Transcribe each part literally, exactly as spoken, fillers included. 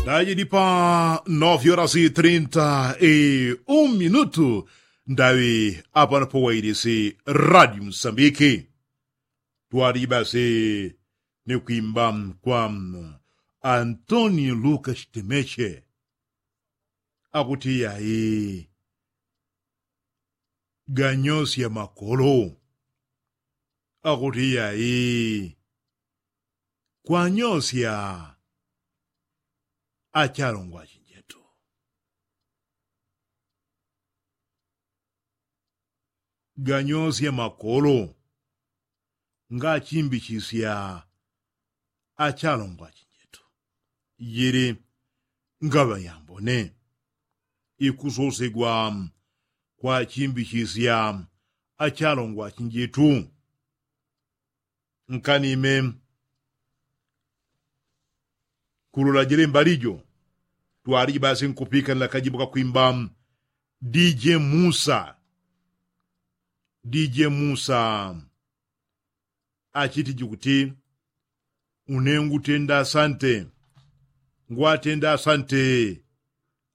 Dajidi pa nove horas e trinta e um minutu. Ndawi apano powailisi radio msambiki. Twaliji basi ni kwimba kwa antonio lukas temeche. Akuti yayi ganyosya makolo. Akuti yayi kwanyosya achalongwa achinjetu. Ganyosya makolo ngachimbichisya achalongwa achinjetu. Jili ngaŵa yambone ikusosegwa kwachimbichisya achalongwa achinjetu. Nkanime kulola jele mbali jo. Twaliji basi nkupika nlakajibu kakwimba dije musa. Dije musa achitiji kuti une ngutenda asante. Ngwatenda asante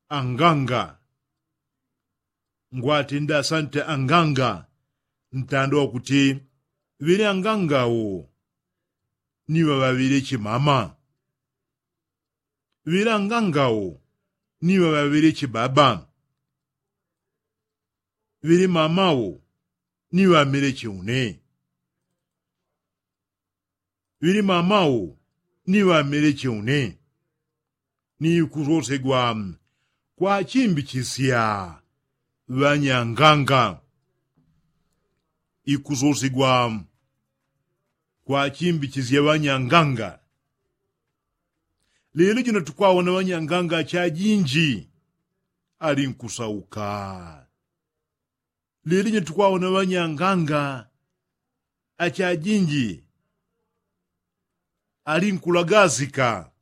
anganga. Ngwatenda asante anganga. Ntando wakuti ŵele anganga wo ni ŵaŵaŵele chimama. Ŵele anganga wo ni ŵaŵaŵele chibaba. Ŵele mama wo ni ŵamele cheune. Ŵili mama wo ni ŵamele cheune. Ni ikusosegwa kwachimbichisya ŵanyanganga. Ikusosegwa kwachimbichisya ŵanyanganga. Lelo jino tukwawona ŵanyanganga chajinji ali nkusauka. Lili jino tukwawona ŵanyanganga achajinji ali nkulagasika.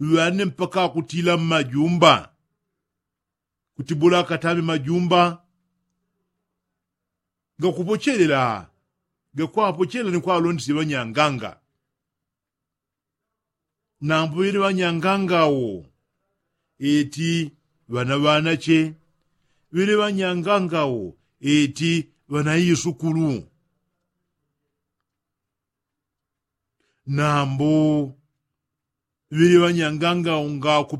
Ŵane mpaka akutila mmajumba kuti bula akatame majumba gakupochelela. Gakwapochelela ni kwalondesya ŵanyanganga. Nambo ŵili ŵanyanganga wo eti ŵana ŵanache. Ŵili ŵanyanganga wo eti ŵana isukulu. Nambo ŵili ŵanyanganga wo ngaku